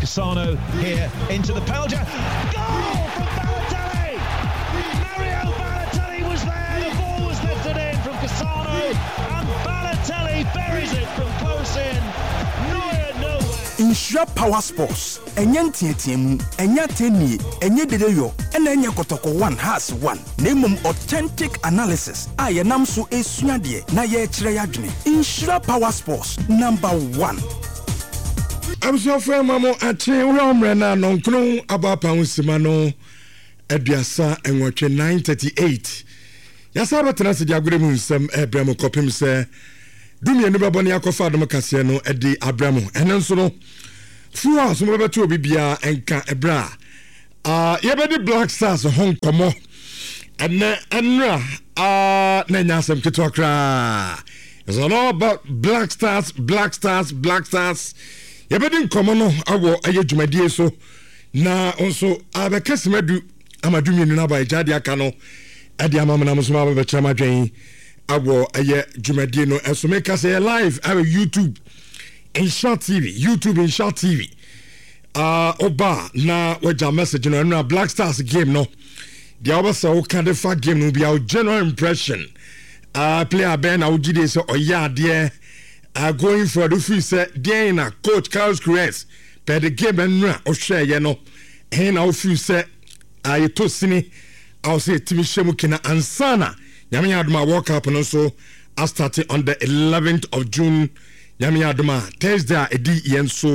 Cassano here into the penalty. Goal from Balotelli! Mario Balotelli was there. The ball was lifted in from Cassano, and Balotelli buries it from close in. Neuer nowhere. Nhyira Power Sports, Ɛnyɛ nteateamu, ɛnyɛ atɛnnie, ɛnyɛ dedeyɔ, ɛna ɛnyɛ kɔtɔkɔ one has one, na mmom authentic analysis a yɛnam so resua adeɛ na yɛrekyerɛ y'adwene. Nhyira Power Sports, number one. Abusuafo ɛma mo akye wohwɛ wo mmerɛ no a nɔnkono abɔ apa ho sima no 38, 9:38 yɛasa bɛtena ase de agorɔ mu nsɛm ɛbrɛ mo kɔpem sɛ dumienu bɛbɔ ne akɔfa adom kaseɛ no de abrɛ mo. Ɛno nso no fuo a so mobɛbɛto obi biara nka ɛberɛ a uh, yɛbɛdi Black Stars ho nkɔmmɔ ɛnɛ ɛnora uh, na ɛnyɛ asɛm ketewa koraa. It's all about Black Stars, Black Stars, Black Stars. Yɛbɛdi nkɔmmɔ no awɔ ɛyɛ dwumadie so na nso abɛka sima du ama du mmienu no aba agya de aka no ɛde ama menam nso ma bɛbɛkyerɛ m'adwen awɔ ɛyɛ dwumadie no ɛso. Meka sɛ yɛ live awɔ YouTube Nhyira TV, YouTube Nhyira TV. Ɔba na wagya message no ɛnora Black Stars game no deɛ wobɛsɛ woka de fa game no bia wo general impression, player bɛn na wogye die sɛ ɔyɛ adeɛ, going forward wofiri sɛ deɛn na coach Carlos Queiroz pɛ de game ɛnora ɔhwɛɛyɛ no ɛhe na wofiri sɛ yɛtɔ sini a ɔsɛ yɛtumi hyɛ mu kena ansa na Nyame yɛ adom a World Cup no nso astarte on the 11th of June. Nyame yɛ adom a Thursday a ɛdi yɛn so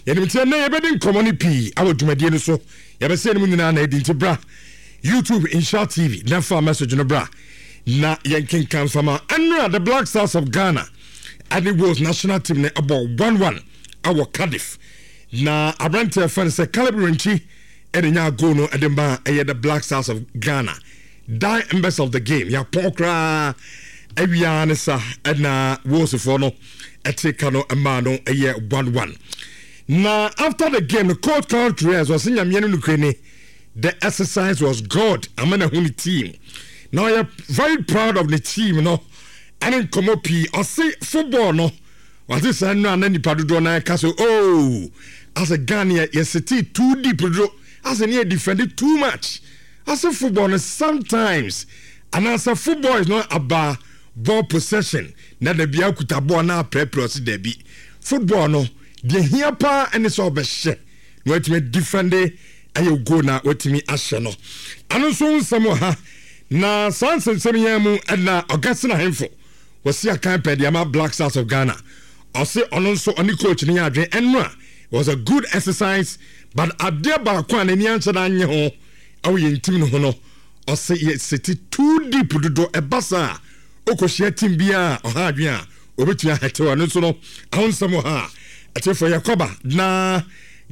yɛnim nti ɛnɛ yɛbɛdi nkɔmmɔ no pii awɔ dwumadie no so. Yɛbɛsɛ no mu nyinaa na ɛdi nti bra YouTube Nhyira TV na fa message no bra na yɛnkenkan fama. Ɛnora the Black Stars of Ghana ɛne Wales national team no ɛbɔ 1-1 awɔ Cardiff na aberanteɛ fɛn sɛ Caleb Renkyi ɛde nya goal no ɛde ma ɛyɛ the Black Stars of Ghana. Die embers of the game yɛapɔn koraa awia ne sa ɛna Walesfoɔ no ɛte ka no ɛmaa no ɛyɛ 1-1. Na after the game no coach Carl Torres ɔse nyameɛ no nokure ni, the exercise was good ama na hu ne team na ɔyɛ very proud of ne team no ɛne nkɔmmɔ pii. Ɔse football no wate saa nnura na nipa dodoɔ na ɛka so, oh, asɛ Ghana yɛsete too deep dodo, asɛ ne yɛ defend too much. Ase football no sometimes anaasɛ football is not about ball possession na da bia kuta ball na aprɛprɛ. Ɔse dabi, football no deɛ hia paa ɛne sɛ ɔbɛhyɛ na watumi defend ɛyɛ goal na watumi ahyɛ no. Ɛno nso nsɛm wɔ ha na saa nsɛnsɛm yɛn mu ɛna Augustine Ahemfo wɔsi akan pɛ deɛ ama Black Stars of Ghana. Ɔse ɔno nso ɔne coach no yɛ adwene ɛno a it was a good exercise, but adeɛ baako a n'ani anhyɛ da nye ho ɛwɔ yɛn team no ho no, ɔse yɛ sete too deep dodo. Ɛba saa a wokɔhyia team biara a ɔha adwene a obɛtumi ahɛtew. Ɛno nso no aho nsɛm wɔ ha a ɛtefoɔ yɛkɔba na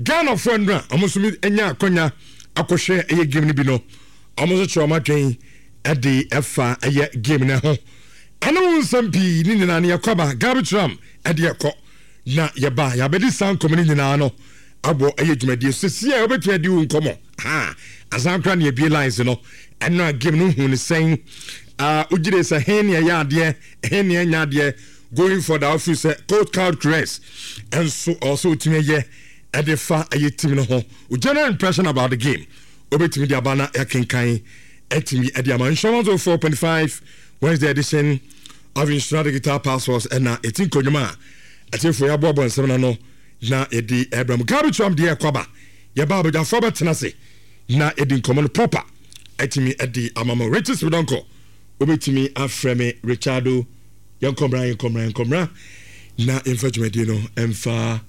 Ghanafoɔ nnora ɔmo nso anya akɔnya akɔhwɛ ɛyɛ game no bi no, ɔmo nso kyerɛ ɔmo adwene ɛde ɛfa ɛyɛ game no ho ɛne wo nsɛm pii ne nyinaa no. Yɛkɔba Gabi Tram ɛde ɛkɔ na yɛba yɛabɛdi saa nkɔmmɔ no nyinaa no abɔ ɛyɛ dwumadie so sɛsi a wobɛtumi adi wo nkɔmmɔ ha asan kora ne abie lines no. Ɛno a game no hu ne sɛn, wogyere sɛ he ne ɛyɛ adeɛ, he ne ɛnyɛ adeɛ, going for the wofiri sɛ coach Carl Torres ɛnso ɔwɔ sɛ wotumi ɛyɛ ɛde fa ɛyɛ team no ho, wo general impression about the game wobɛtumi de aba na yɛakenkan ɛtumi ɛde ama. Nhyira 104.5, Wednesday edition of Nhyira Digital Passports ɛna ɛti nkonnwom a ɛtefoɔ yɛaboaboa nsɛm no ano na yɛde ɛbrɛ mu. Gabi Tram deɛ ɛkɔ aba yɛba abadwafoɔ bɛtena ase na yɛdi nkɔmmɔ no proper ɛtumi ɛde ama mo. Riches Medɔnkɔ wobɛtumi afrɛ me Richardo. Yɛnkɔmmra, yɛnkɔmmra, yɛnkɔmmra na yɛmfa dwumadie no ɛmfa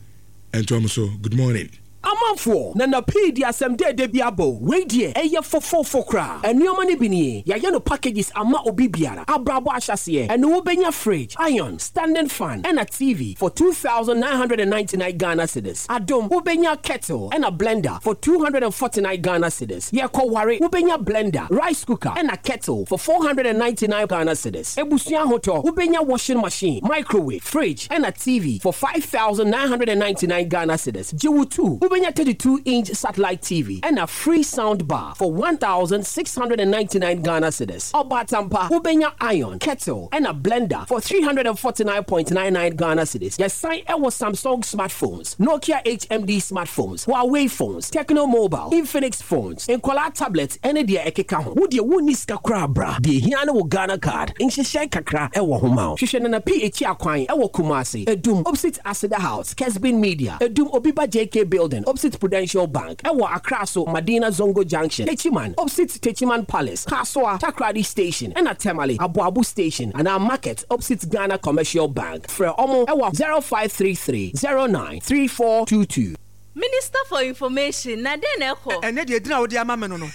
ɛntoa mo so. Good morning. Amanfoɔ, Nana pii de asɛm dɛɛdɛ bi aba o, wei deɛ ɛyɛ fofoofo koraa. Nnoɔma no bi nie, yɛayɛ no packages ama obi biara, abrabɔ ahyɛaseɛ, ɛno wobɛnya fridge, iron, standing fan, ɛna TV for 2,999 Ghana cedis. Adom, wobɛnya kettle ɛna blender for 249 Ghana cedis. Yɛkɔware, wobɛnya blender, rice cooker, ɛna kettle for 499 Ghana cedis. Ebusua ahotɔ, wobɛnya washing machine, microwave, fridge, ɛna TV for 5,999 Ghana cedis. Gye wo tu, wobɛnya 32 inch satellite TV ɛna free sound bar for 1,699 Ghana cedis. Ɔbaatampa, wobɛnya iron, kettle ɛna blender for 349.99 Ghana cedis. Yɛsan ɛwɔ Samsung smartphones, Nokia HMD smartphones, Huawei phones, Tecno Mobile, Infinix phones, nkwadaa tablet ɛne deɛ ɛkeka ho. Wo deɛ wonni sika koraa bra, deɛ ehia ne wo Ghana card. Nhyehyɛe kakra ɛwɔ ho ma wo. Hwehwɛ Nana P akyi akwan ɛwɔ Kumasi, Adum, opposite Aseda House, Kesbin Media, Adum Obiba JK Building, opposite Prudential Bank, ɛwɔ Accra so Madina Zongo Junction, Techiman, opposite Techiman Palace, Kasoa, Takoradi Station, ɛna Tamale, Aboabo Station, anaa Market, opposite Ghana Commercial Bank. Frɛ ɔmo ɛwɔ 0533 09 3422. Minister for information, na dɛn na ɛkɔ? Ɛnnɛ deɛ edin a wode ama me no no,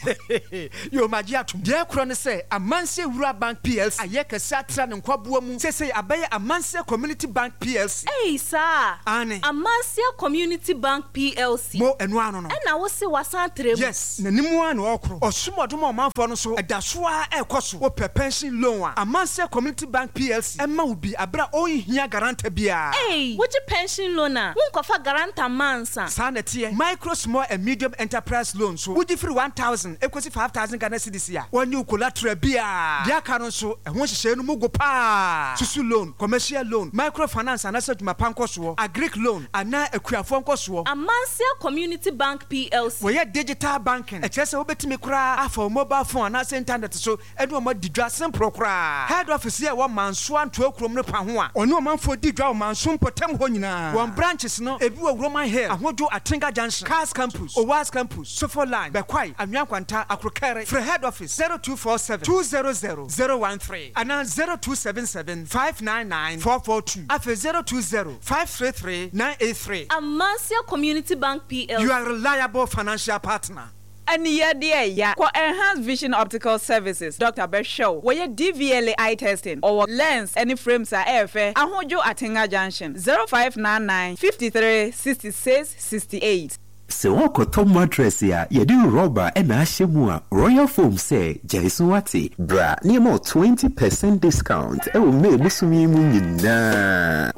yoo magye atom. Deɛ ɛkorɔ ne sɛ, Amansie Rural Bank Plc ayɛ kɛse atra ne nkwaboa mu. Seesei abɛyɛ Amansie Community Bank Plc. Ei, saa? Aane. Amansie Community Bank Plc. Mo, ɛno ara no no. Ɛna wose wasan atra mu? Yes, n'anim ara na ɔrekorɔ. Ɔsom ɔdom a ɔmanfoɔ no nso, ɛda so ara ɛrekɔ so. Wopɛ pension loan a, Amansie Community Bank Plc ɛma wo bi aberɛ a ɔnhia guarantor biara. Ei, wogye pension loan a, wonkɔfa guarantor mma ansa? Saa na ɛteɛ. Micro, Small and Medium Enterprise Loan nso, wogye firi 1,000 kɔsi 5,000 Ghana cedis a, wɔnnye wo collateral biara. Deɛ aka no nso, ɛho nhyehyɛeɛ no mu go pa ara. Susu loan, commercial loan, microfinance anaasɛ adwuma pa nkɔsoɔ, agric loan anaa akuafoɔ nkɔsoɔ. Amansia Community Bank Plc. Wɔyɛ digital banking, ɛkyerɛ sɛ wobɛtumi koraa afa wo mobile phone anaasɛ internet so ne wɔn adi dwa simple koraa. Head office yi a ɛwɔ Manso Antoa kurom no pa ho a ɔne ɔmanfoɔ di dwa wɔ Manso mpɔtam hɔ nyinaa. Wɔn branches no ebi wɔ Roman Hill, Ahodwo, Atenga Junction, Cars Campus, Owas Campus, Sofo Line, Bɛkwae, Anwea Nkwanta, Akrokɛre. Frɛ head office 0247 200 013 anaa 0277 599 442 afei 020 533 983. Amansia Community Bank PLC. Your reliable financial partner. Aniyɛdeɛ ɛya. Kɔ Enhanced Vision Optical Services, Doctor bɛhwɛ wo. Wɔyɛ DVLA eye testing. Ɔwɔ lens ne frames a ɛyɛ fɛ. Ahodwo Atenga Junction, 0599 53 66 68. Sɛ worekɔtɔ mattress a yɛde rɔba na ahyɛ mu a, Royal Foam sɛ gyae so wate. Bra na yɛma wo 20 percent discount wɔ May bosome yi mu nyinaa.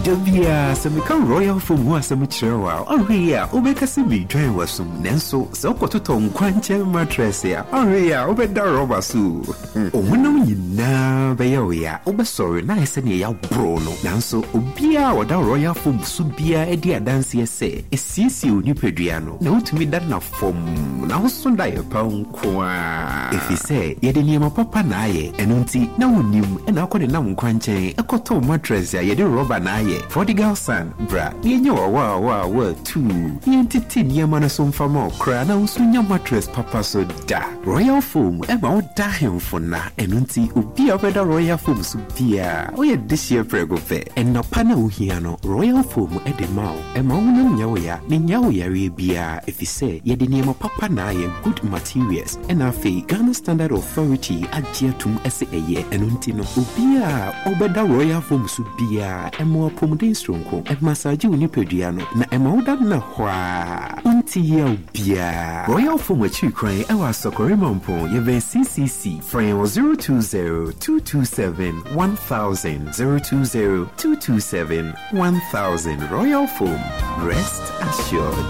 Da biara sɛ meka Royal Foam ho asɛm kyerɛ wo a, ɔnhwɛ yie a wobɛka sɛ meredwan w'asom. Nanso sɛ wokɔtotɔ nkwankyɛn mattress a, ɔnhwɛ yie a wobɛda rɔba so o. Wo honam nyinaa bɛyɛ wo ya, wobɛsɔre na ayɛ sɛ nea yɛaboro wo no. Nanso obiara a ɔda Royal Foam so biara di adanseɛ sɛ ɛsiesie wo nipadua no, na wotumi da nna fɔmm, na woso daeɛ pa nko ara. Ɛfiri sɛ yɛde nneɛma papa na ayɛ, ɛno nti na wonnim na wokɔ denam nkwankyɛn kɔtɔ mattress a yɛde rɔba na ayɛ. Prodigal son, bra na yɛnyɛ wo awaawaawaa tuu na yɛntete nneɛma no so mfa ma wo koraa na wo nso nya mattress papa so da. Royal Foam ma wo da ahemfo nna, ɛno nti obi a ɔbɛda Royal Foam so biara, ɔyɛ dehyeɛ prɛko pɛ. Nna pa no a wohia no, Royal Foam de ma wo. Ɛma wo honam nyɛ wo ya na ɛnnya wo yareɛ biara efisɛ yɛde nneɛma papa na ayɛ, good materials, ɛna afei Ghana Standard Authority agye atum sɛ ɛyɛ. Ɛno nti no, obiara a ɔbɛda Royal Foam so biara, ɛma wo apɔmuden soronko, ɛmasaagye wo nipadua no, na ɛma woda nna hɔ ara, wonte yaw biara. Royal Foam akyiri kwan wɔ Asɔkɔre Mampong, yɛbɛn CCC. Frɛ yɛn wɔ 020 227 1000, 020 227 1000. Royal Foam, rest assured.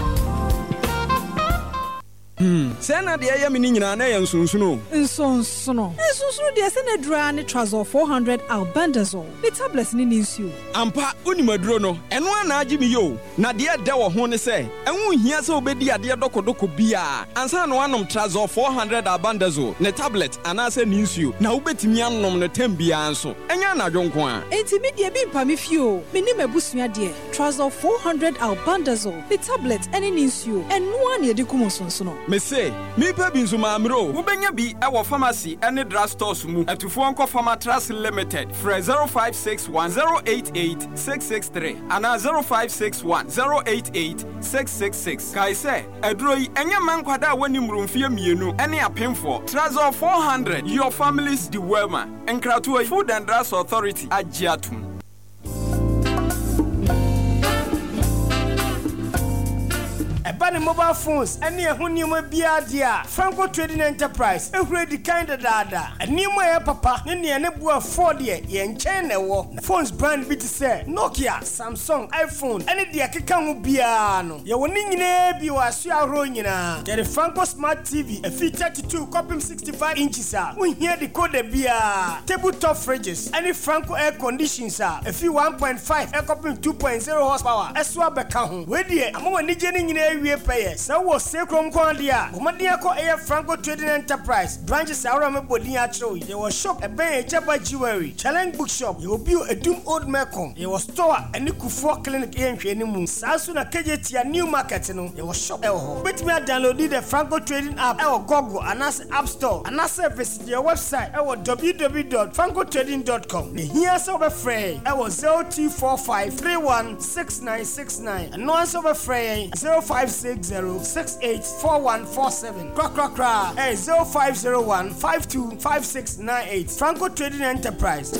Hmm, sɛɛ na deɛ ɛyɛ me no nyinaa na ɛyɛ nsonsono o. Nsonsono? Nsonsono deɛ sɛ n'aduru ara ne Trazol 400 Albendazole, ne tablɛt ne ne nsuo. Ampa, wonim aduro no, ɛno ara na agye me yi o. Na deɛ ɛdɛ wɔ ho ne sɛ, ɛho nhia sɛ wobɛdi adeɛ dɔkɔdɔkɔ biara ansa na woanom Trazol 400 Albendazole, ne tablɛt anaasɛ ne nsuo, na wobɛtumi anom no tɛm biara nso, ɛnyɛ anadwo nko ara. Enti me deɛ bi mpa me fie o, me ne m'abusua deɛ. Trazol 400 Albendazole, ne tablet ne ne nsuo, ɛno ara na yɛde kum nsonsono. Mese, mepɛ bi nso mammrɛ o. Wobɛnya bi wɔ pharmacy ne drug stores mu. Atufoɔ nkɔ Pharmatrust Limited. Frɛ 0561 088 663 anaa 0561 088 666. Kae sɛ, aduro yi, ɛnyɛ mma nkwadaa a wɔnni mmoro mfeɛ mmienu ne apemfoɔ. Trazol 400, your family's dewormer. Nkratoɔ yi, Food and Drugs Authority agye atom. Ɛba ne mobile phones ne ɛho nneɛma biara deɛ a, Franco Trading Enterprise ahura adi kan dadaada. Nneɛma a ɛyɛ papa ne nea ne bo ɛfɔɔ deɛ, yɛn nkyɛn na ɛwɔ. Na phones brand bi te sɛ Nokia, Samsung, iPhone ne deɛ ɛkeka ho biara no, yɛwɔ ne nyinaa bi wɔ asoɛ ahorow nyinaa. Yɛde Franco Smart TV ɛfiri 32 kɔpem 65 inches a wonhia decoder biara, table top fridges ne Franco air conditions a ɛfiri 1.5 kɔpem 2.0 horsepower so abɛka ho. Wei deɛ ama w'anigye no nyinaa awie pɛyɛ. Sɛ wowɔ Seykurom nko ara deɛ a, bɔ mmɔden akɔ ɛyɛ Franco Trading Enterprise branches ahorow a mebɔ din akyerɛ wo yi. Yɛwɔ shop ɛbɛn Agyaba Jewelry, Challenge Bookshop, yɛwɔ bio Adum Old Melcom, yɛwɔ store a ɛne Kufuor Clinic yɛ nhwɛanimu. Saa nso na Kejetia New Market no, yɛwɔ shop ɛwɔ hɔ. Wobɛtumi adownloadi the Franco Trading app ɛwɔ Google anaasɛ App Store anaasɛ visit yɛn website ɛwɔ www dot francotrading dot com. Na ehia sɛ wobɛfrɛ yɛn ɛwɔ 0245 31 6969. Ɛno ara nso wobɛfrɛ yɛn 0560 68 4147. Korakorakora ɛyɛ 0501 52 5698. Franco Trading Enterprise.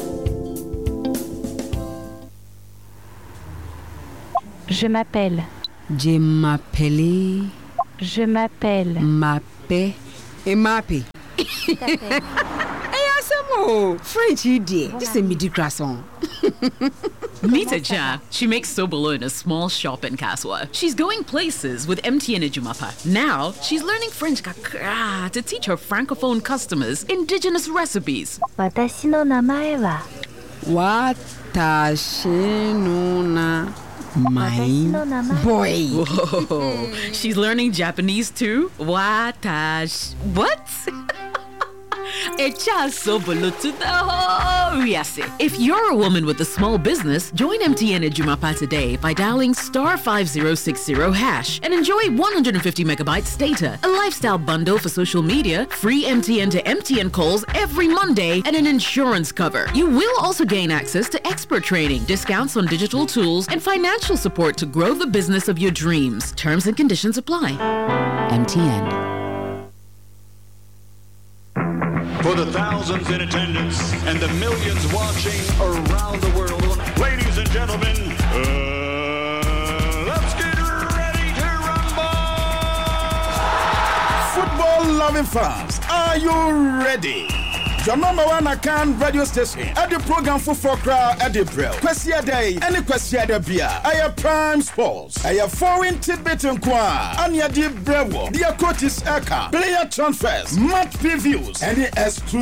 Je m'appelle. Je m'appelle. Je m'appelle. M'appelle. M'appelle. Ɛyɛ asɛm o, French yi deɛ, gye sɛ medi croissant. Meet Aja. She makes sobolo in a small shop in Kaswa. She's going places with MTN Ejumapa. Now, she's learning French kakra to teach her francophone customers indigenous recipes. 私の名前は 私の名前 boy. Whoa. She's learning Japanese too? Watash. What? If you're a woman with a small business, join MTN Ejumapa today by dialing star 5060 hash and enjoy 150 megabytes data, a lifestyle bundle for social media, free MTN to MTN calls every Monday, and an insurance cover. You will also gain access to expert training, discounts on digital tools, and financial support to grow the business of your dreams. Terms and conditions apply. MTN. For the thousands in attendance and the millions watching around the world, ladies and gentlemen, uh, let's get ready to rumble! Football loving fans, are you ready? Your number one Akan radio station. At the program for koraa ɛde brɛ Kwasiada yi ɛne Kwasiada bia ɛyɛ Prime Sports. Ɛyɛ foreign tidbit nko a ɛne ɛde brɛ wɔ. Deɛ coaches ɛka, player transfers, match previews ɛne exclusive.